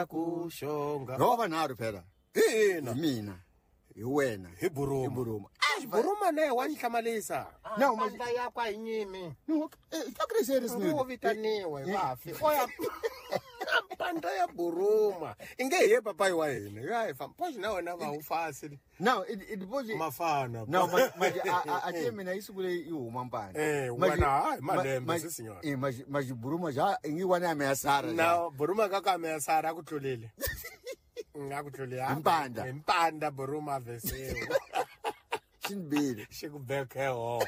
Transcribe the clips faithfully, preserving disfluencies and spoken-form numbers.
Ku xonga. Ro vanharhu phela. Ina. Mina. Hi wena. Hi Buruma. Hi Buruma. Ah, Buruma ne wa nhlamalisa. Na mandla ya kwa hi nyimi. No, eh ta ni wo vitaniwe vafi. Oya. Mpandla ya Buruma. Inge hi papai wa hina. Ya hi famba. Poxa na wena va u fasi. Now it it was mafana. No, manje a a mina yi sukule yi huma mpandla. Eh, wena hayi malembe sisinyana. Eh, manje manje Buruma ja ingi wana ya Measara. Na Buruma ka ka Measara ku tlulile. Nga ku tlulile. Mpandla. Mpandla Buruma veseo. Xinbile. Xi ku beke ho.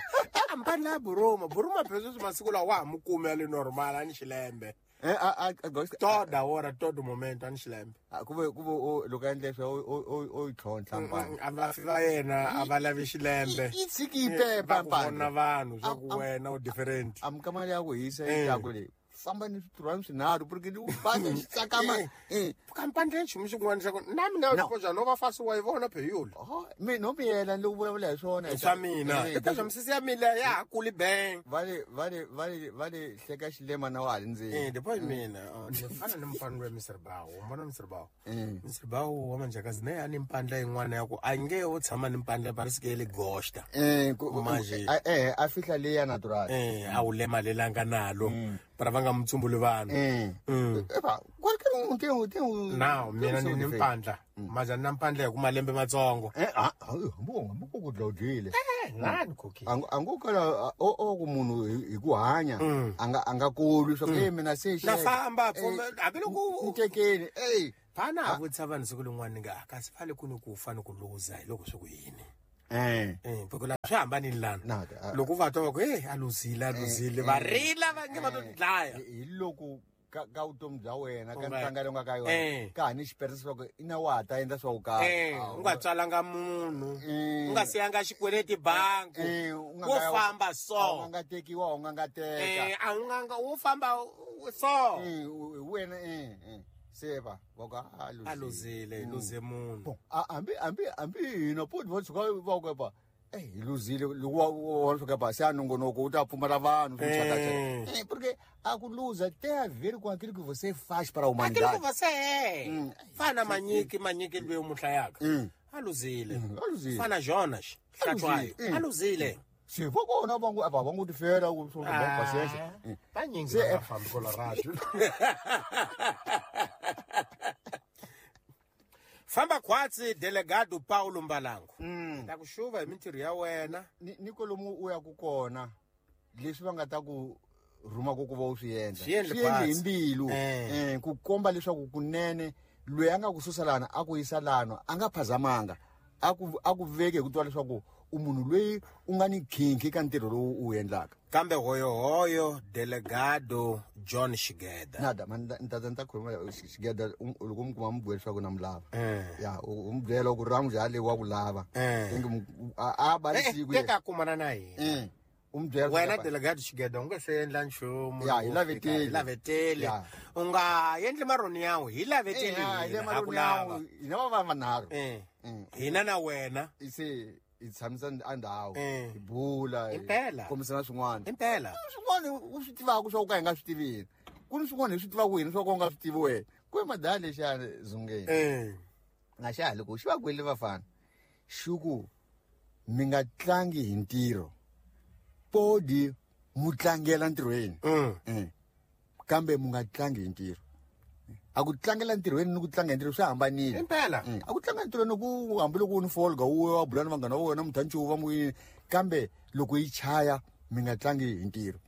Mpandla ya Buruma, Buruma phezulu masiku lawa wa mukume ya le normal ani xilembe. Eh a a toda hora todo momento ani xilembe. Kuve kuve loko endle swa o o tlhontlha mpandla. A va va yena a va lavi xilembe. I tshiki pepa mpandla. Vona vanhu swa ku wena u different. Amkamali ya ku hisa ya ku le. Famba ni switirhwani swinharhu porque ni banga xi tsakama. Eh kampandla nchumu xin'wana xa ku na mina poxa no va fasi wa yi vona pheyula. Oh mina no miyela ni vulavula hi swona. Swa mina. I poxa misisi ya mina ya ha kuli bang. Va le va le va le va le hleka xilema na wa ha ndzeni. Eh depois mina ni fana ni mfana wa Mister Bawo, mbona Mister Bawo. Mister Bawo wa manjakazi ne ani mpandla yin'wana ya ku a nge u tshama ni mpandla parece que ele gosta. Eh eh a fihla le ya natural. Eh a wu lemalelanga nalo. Para va nga mutsumbuli vanhu. Mm. Eba, qualche un tem um tem um. Now mina ni ni mpandla. Maja na mpandla hi ku malembe matsongo. Eh ah, hambo hambo ku dlawudile. Eh, nani cookie. Ango ango kala o o ku munhu hi ku hanya anga anga kolwi swa ku mina se Na famba hambiloko u tekeni. Eh, phana a vutisa vanhu siku lin'wana nga kasi fale ku ni ku fa ni ku luza hi loko swi ku yini. Eh eh porque la swi hambanile lana. Loko va twa va ku eh a luzile a luzile va rila va nge va to dlaya. Hi loko ka ka vutomi bya wena ka ntanga leyi nga ka yona ka ha ni xiperisa swa ku ina wa ta endla swa ku karhi. Eh u nga tswalanga munhu. U nga siyanga xikweleti bangi. Wo famba so. A nga tekiwa u nga nga teka. Eh a u nga nga wo famba so. Eh wena eh eh seva va ka a luzile luze munhu. Hambi hambi hambi hina poti va tshuka va ku pa eh hi luzile loko wa tshuka pa se a nongonoko u ta pfumala vanhu swi chaka chaka. Eh porque a ku luza tem a ver com aquilo que você faz para a humanidade. Aquilo que você é. Fana manyiki manyiki loyi u muhlayaka. A luzile. A luzile. Fana Jonas Hlatshwayo. A luzile. Se vo kona va ngo va ngo tifela ku swo va paciência. Vanyingi va fambi Colorado. Famba khwatsi delegado Paulo Mbalango. Ta ku xuva hi mintirho ya wena. Ni ni kolomu u ya ku kona leswi va nga ta ku rhuma ku ku va u swi endla. Swi endle hi mbilu. Eh ku komba leswaku kunene loyi a nga ku susa lana a ku yisa lana a nga phazamanga. A ku a ku veke hi ku twa leswaku u munhu loyi u nga ni khinkhi ka ntirho lowu u endlaka. Kambe hoyohoyo delegado John Shigeda. Nada man nta nta khuluma Shigeda loko mi kuma mi bwela leswaku na mi lava. Ya u mi byela ku ramu jale wa ku lava. Ingi a ba siku. Teka kumana na yena. U mi byela wena delegado Shigeda u nga se endla nchumu. Ya hi laveteli. Hi laveteli. U nga endli maroni yawo hi laveteli. Hi ku lava. Hina va vanharhu. Hina na wena. Se i tshamisa andhawu hi bula impela kombisana swin'wana impela swin'wana u swi tivaka swa ku ka hi nga swi tivini ku ni swin'wana hi swi tivaka hina swa ku u nga swi tivi wena ku i madala lexiyani zungeni nga xa ha loko xi va kwele vafana xi ku mi nga tlangi hi ntirho podi mu tlangela ntirhweni kambe mu nga tlangi hi ntirho. A ku tlangela ntirhweni ni ku tlanga hi ntirho swi hambanile. Impela. A ku tlanga ntirhweni ku hambiloko u ni folga u wa bula ni vanghana va wena muthanchuva va mu kambe loko yi chaya mi nga tlangi hi ntirho.